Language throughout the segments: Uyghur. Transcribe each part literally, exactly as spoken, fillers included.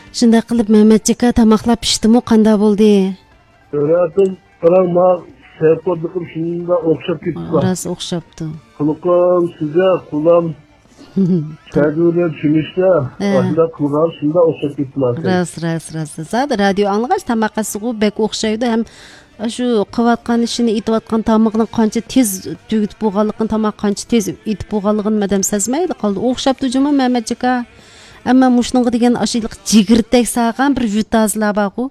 شۇنداق قىلىپ، مەمەتجىكا، تاماقلار پىشتىمۇ، قانداق بولدى؟ ئۆرەتىم، قاراڭ، ما سەيپۇردىكىم شۇنداق ئوخشاپ كېتىپلا. راست ئوخشاپتۇ. قۇلىقىم سىزە، قۇلام سەدۇرە چۈمۈشتە، ھە. ئاشۇنداق قىلغان شۇنداق ئوخشاپ كېتىپلا. راست، راست، راست. زادى رادىيو ئاڭلىغاچ تاماق ئەسىغۇ بەك ئوخشايدۇ ھەم ئاشۇ قىلىۋاتقان ئىشىنى، ئېتىۋاتقان تامىقىنى قانچە تېز تۈگىتىپ بولغانلىقىنى، تاماق قانچە تېز ئېتىپ بولغانلىقىنى ئادەم سەزمەيلا قالدى. ئوخشاپتۇ جۇمۇ مەمەتجىكا. ئەمما مۇشۇنىڭغا دېگەن ئاشۇ جىگىرتەك سالغان بىر يۇتازلار بارغۇ.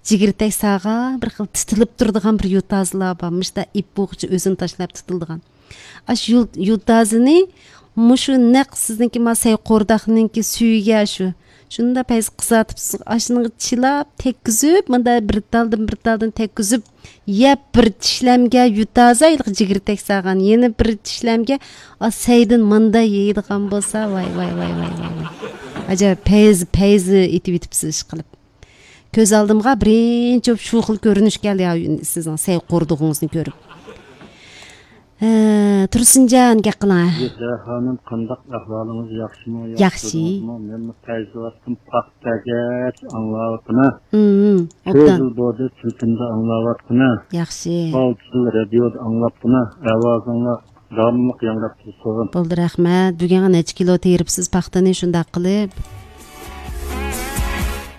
جىگىرتەك سالغان بىر خىل تىتىلىپ تۇرىدىغان بىر يۇتازلار بار. مۇشتا ئىپ بوغۇچە ئۆزىنى تاشلاپ تىتىلىدىغان. ئاشۇ يۇ-، يۇتازىنى مۇشۇ نەق سىزنىڭكى ما سەي قورداقنىڭكى سۈيىگە شۇ. شۇنداق پەيز قىزارتىپ، ئاشۇنىڭغا چىلاپ، تەگكۈزۈپ، مۇنداق بىر تالدىن بىر تالدىن تەگكۈزۈپ، يەپ بىر چىشلەمگە يۇتازا ھېلىقى جىگىرتەك سالغان، يەنە بىر چىشلەمگە ئا سەيدىن مۇنداق يەيدىغان بولسا، ۋاي، ۋاي، ۋاي. ئەجەب پەيز، پەيز ئېتىۋېتىپسىز ئىشقىلىپ. كۆز ئالدىمغا بىرىنچى بولۇپ شۇ خىل كۆرۈنۈش كەلدى يا سىزنىڭ سەي قوردۇقىڭىزنى كۆرۈپ. ھە، تۇرسۇنجان، گەپ قىلىڭ. يېسە خانىم، قانداق ئەھۋالىڭىز، ياخشىمۇ؟ ياخشى. ياخشى تۇردىڭىزمۇ؟ مەنمۇ پەيزىۋاتتىم، پاختەگەچ ئاڭلاۋاتىمەن. ھىم، كۆپ ئوبدان. يىل بولدى، تېلېفوندا ئاڭلاۋاتقىنە. ياخشى. ئالتە يىل رادىيودا ئاڭلاپتىمەن، ئاۋازىڭلار داۋاملىق ياڭراپ تۇرسۇن. بولدى، رەھمەت. بۈگۈن نەچچە كىلو تېرىپسىز پاختىنى شۇنداق قىلىپ؟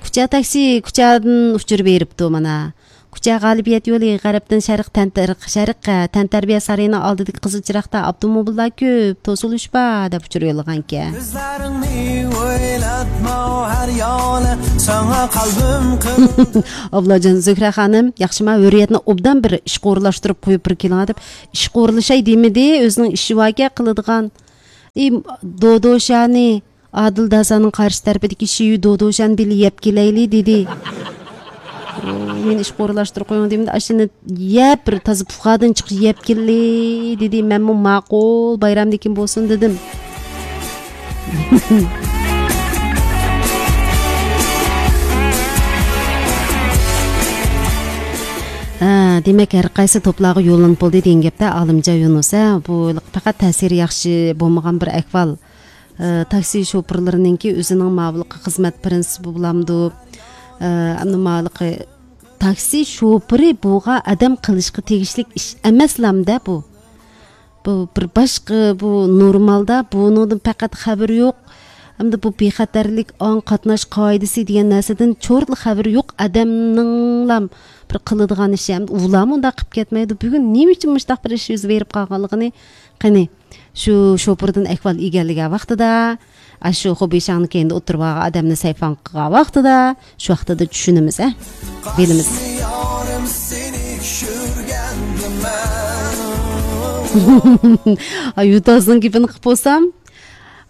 كۇچا تاكسى كۇچادىن ئۇچۇر بېرىپتۇ مانا. كۇچا غالىبىيەت يولى غەربتىن شەرق تەنتەر-، شەرق، ھە، تەنتەربىيە سارىيىنىڭ ئالدىدىكى قىزىل چىراغدا ئاپتوموبىللار كۆپ، توسۇلۇش بار، دەپ ئۇچۇر يوللىغانىكەن. كۆزلىرىڭنى ئويلاتما ھەر يولى، ساڭا قەلبىم قىل-، ئابلاجان زۆھرە خانىم، ياخشىما ھۆرىيەتنى ئوبدان بىر ئىشقا ئورۇنلاشتۇرۇپ قويۇپ بىر كېلىڭ دەپ، ئىشقا ئورۇنلىشاي دېمىدى، ئۆزىنىڭ ئىشى باركەن قىلىدىغان. ئى، دودوشانى، ئادىل داسانىڭ قارشى تەرىپىدىكى شىيۈ دودوشان بىللە يەپ كېلەيلى، دېدى. ئۇ، مېنى ئىشقا ئورۇنلاشتۇرۇپ قويۇڭ دېمىدى، ئاشۇنى يەپ، بىر تازا پۇخادىن چىقىش يەپ كېلەيلى، دېدى. مەنمۇ ماقۇل، بايرامدىن كېيىن بولسۇن، دېدىم. ھە، دېمەك، ھەر قايسى توپلارغا يوللىنىپ بولدى دېگەن گەپتە، ئالىمجان يۇنۇس، ھە، بۇ پەقەت تەسىرى ياخشى بولمىغان بىر ئەھۋال. ئە، تاكسى شوپۇرلىرىنىڭكى ئۆزىنىڭ ماۋۇلۇق خىزمەت پىرىنسىپى بولامدۇ؟ ئە، ئەمدى ماۋۇلۇق تاكسى شوپۇرى بولغان ئادەم قىلىشقا تېگىشلىك ئىش ئەمەسلامدە بۇ. بۇ بىر باشقا، بۇ نورمالدا بۇنىڭدىن پەقەت خەۋىرى يوق. ئەمدى بۇ بىخەتەرلىك، ئاڭ قاتناش قائىدىسى دېگەن نەرسىدىن چورتلا خەۋىرى يوق ئادەمنىڭلام بىر قىلىدىغان ئىشى. ئەمدى ئۇلارمۇ ئۇنداق قىلىپ كەتمەيدۇ. بۈگۈن نېمە ئۈچۈن مۇشۇنداق بىر ئىش يۈز بېرىپ قالغانلىقىنى قېنى، شۇ شوپۇردىن ئەھۋال ئىگىلىگەن ۋاقتىدا، ئاشۇ خوبىشاڭنى كەينىدە ئولتۇرۇۋالغان ئادەمنى سەيپان قىلغان ۋاقتىدا، شۇ ۋاقتىدا چۈشىنىمىز، ھە؟ بىلىمىز. ئاي، يۇتازنىڭ گېپىنى قىلىپ بولسام،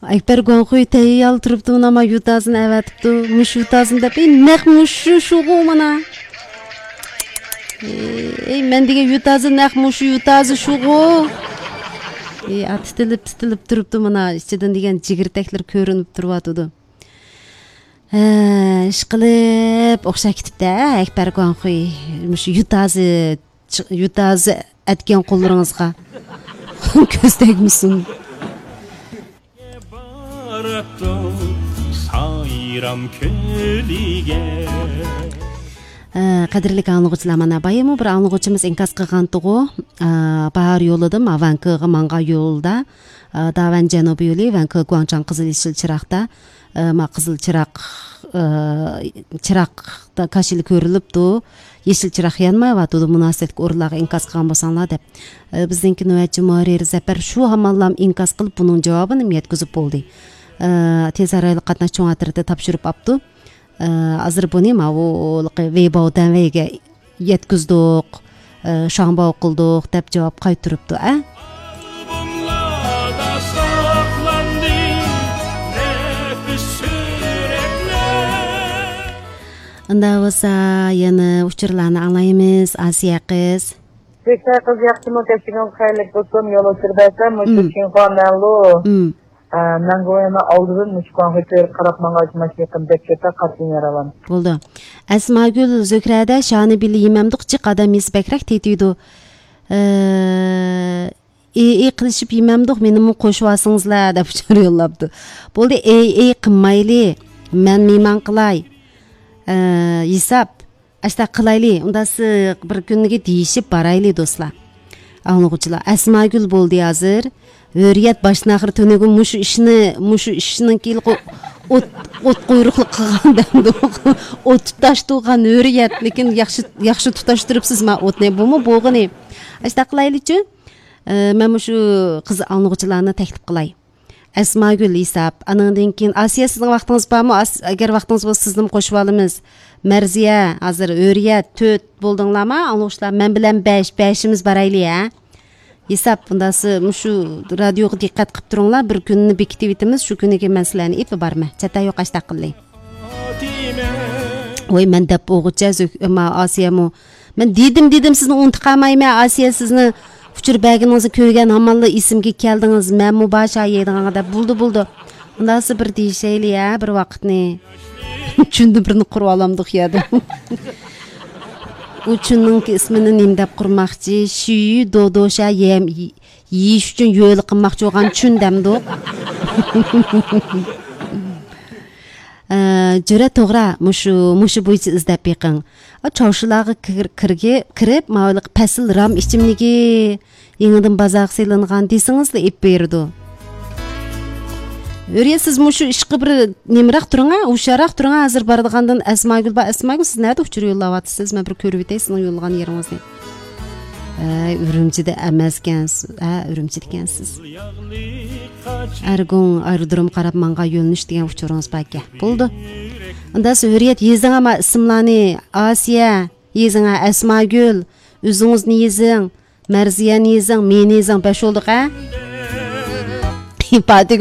ئەكبەر گۇاڭخۇي تەييار تۇرۇپتۇ، مانا يۇتازنى ئەۋەتىپتۇ. مۇشۇ يۇتازنى دەپ، ئەي، نەق مۇشۇ شۇغۇ مانا. ئەي، مەن دېگەن يۇتازى نەق مۇشۇ يۇتازى شۇغۇ. ئەي، ئا، تىتىلىپ، تىتىلىپ تۇرۇپتۇ مانا، ئىچىدىن دېگەن جىگىرتەكلىرى كۆرۈنۈپ تۇرۇۋاتىدۇ. ھە، ئىشقىلىپ ئوخشاپ كېتىپتۇ، ھە، ئەكبەر گۇاڭخۇي. مۇشۇ يۇتازى، يۇتازى ئەتكەن قوللىرىڭىزغا كۆز تەگمىسۇن. باراتتۇق سايرام كۆلىگە. ئە، قەدىرلىك ئاڭلىغۇچىلار، مانا بايىمۇ بىر ئاڭلىغۇچىمىز ئىنكاس قىلغانتىغۇ. ئە، باھار يولىدا، ما، ۋەنكۇغا ماڭغان يولدا، ئە، داۋەن جەنۇبىي يولى، ۋەنكۇ گۇاڭچاڭ قىزىل يېشىل چىراغدا، ئە، ما، قىزىل چىراغ، ئە، چىراغدا كاشىلا كۆرۈلۈپتۇ. يېشىل چىراغ يانمايۋاتىدۇ، مۇناسىۋەتلىك ئورۇنلارغا ئىنكاس قىلغان بولساڭلار دەپ. ئە، بىزنىڭكى نۆۋەتچى مۇھەررىر زەپەر شۇ ھامانلام ئىنكاس قىلىپ، بۇنىڭ جاۋابىنىمۇ يەتكۈزۈپ بولدى. ئە، تېز ئارايلىق قاتناش چوڭ ئەترىتى تاپشۇرۇپ ئاپتۇ. ئە، ھازىر بۇنى ماۋۇ ۋېيباۋ دەنۋەيگە يەتكۈزدۇق. ئە، شاڭباۋ قىلدۇق دەپ جاۋاب قايتۇرۇپتۇ، ئە. ئۇنداق بولسا يەنە ئۇچۇرلارنى ئاڭلايمىز، ئاسىيە قىز. زۆھرە قىز، ياخشىمۇ؟ كەچۈرۈڭ، خەيرلىك بولسۇن. يول ئۇچۇر بەرسەم، مۇشۇ، مم، چىڭخۇا مەنلۇ. مم. ئە، مەنگۇ يەنە ئالدىدىن مۇشۇ كوڭخۇي كۆرۈپ قاراپ ماڭغاچ ماشىنا يېقىن بەك كېتە قاتتىق يارىۋان. بولدى. ئەسماگۈل، زۆھرەدە شانى بىللە يېمەمدۇق، جىق ئادەم يېسە بەكرەك تېتىيدۇ. ئە، ئېي، ئېي قىلىشىپ يېمەمدۇق، مېنىمۇ قوشۇۋالسىڭىزلە، دەپ ئۇچۇر يوللاپتۇ. بولدى، ئېي، ئېي قىلمايلى. مەن مېھمان قىلاي. ئە، ھېساب، ئاشتا قىلايلى، ئۇندا سى-، بىر كۈنگە دېيىشىپ بارايلى، دوستلار. ئاڭلىغۇچىلار، ئەسماگۈل بولدى ھازىر. ھۆرىيەت باشتىن ئاخىر تۈنۈگۈن مۇشۇ ئىشنى، مۇشۇ ئىشنىڭ كېيىن ئوت، ئوت قۇيرۇقلۇق قىلغان دەمدۇق. ئوت تۇتاشتۇرغان ھۆرىيەت، لېكىن ياخشى، ياخشى تۇتاشتۇرۇپسىز ما ئوتنى. بۇمۇ بولغىنى. ئاشتا قىلايلىچۇ. ئە، مەن مۇشۇ قىز ئاڭلىغۇچىلارنى تەكلىپ قىلاي. ئەسماگۈل ھېساب. ئانىڭدىن كېيىن ئاسىيە، سىزنىڭ ۋاقتىڭىز بارمۇ؟ ئاس-، ئەگەر ۋاقتىڭىز بولسا، سىزنىمۇ قوشۇپ ئالىمىز. مەرزىيە، ھازىر ھۆرىيەت، تۆت بولدۇڭلارما؟ ئاڭلىغۇچىلار، مەن بىلەن بەش، بەشىمىز بارايلى، ھە؟ ھېساب، ئۇنداقسى مۇشۇ رادىيوغا دىققەت قىلىپ تۇرۇڭلار، بىر كۈننى بېكىتىۋېتىمىز، شۇ كۈنىگە مەن سىلەرنى ئېلىپ بارىمەن. چاتا يوق، ئاشتا قىللى. ۋاي، مەن دەپ بولغۇچە زۆك-، ئەمما ئاسىيەمۇ، مەن دېدىم، دېدىم، سىزنى ئۇنتۇپ قالمايمەن، ئاسىيە، سىزنى ئۇچۇر بەرگىنىڭىزنى كۆرگەن ھامانلا ئېسىمگە كەلدىڭىز، مەنمۇ بار شايەيدىغانغا دەپ. بولدى، بولدى. ئۇنداقسى بىر دېيىشەيلى، ھە، بىر ۋاقىتنى. چۈندە بىرنى قۇرۇۋالامدۇق يەردە. ئۇ چۈننىڭكى ئىسمىنى نېمە دەپ قۇرماقچى؟ شۈيۈ دودوشا يەم-، يېيىش ئۈچۈن يۆلە قىلماقچى بولغان چۈن دەمدۇق. ئە، جۈرە توغرا، مۇشۇ، مۇشۇ بويىچە ئىزدەپ بېقىڭ. ئا، چاۋشىلارغا كىر-، كىرگى-، كىرىپ، ماۋۇلۇق پەسىل رام ئىچىملىكى يېڭىدىن بازارغا سېلىنغان دېسىڭىزلا ئېلىپ بېرىدۇ. ھۆرىيەت، سىز مۇشۇ ئىشقا بىر نېمىراق تۇرۇڭ ھە، ھوشيارراق تۇرۇڭ ھە، ھازىر بارىدىغاندىن ئەسماگۈل بار، ئەسماگۈل، سىز نەدە ئۇچۇر يوللاۋاتىسىز؟ مەن بىر كۆرۈۋېتەي سىزنىڭ يوللىغان يېرىڭىزنى. ھە، ئۈرۈمچىدە ئەمەسكەنسىز، ھە، ئۈرۈمچىدىكەنسىز. ئەرگۇڭ ئايرودروم قاراپ ماڭغان يۆنىلىش دېگەن ئۇچۇرىڭىز باركەن. بولىدۇ. ئۇندا سىز ھۆرىيەت يېزىڭ ئەمما ئىسىملارنى، ئاسىيە، يېزىڭ ھە، ئەسماگۈل، ئۆزىڭىزنى يېزىڭ، مەرزىيەنى يېزىڭ، مېنى يېزىڭ، بەش بولدۇق ھە؟ پاتىك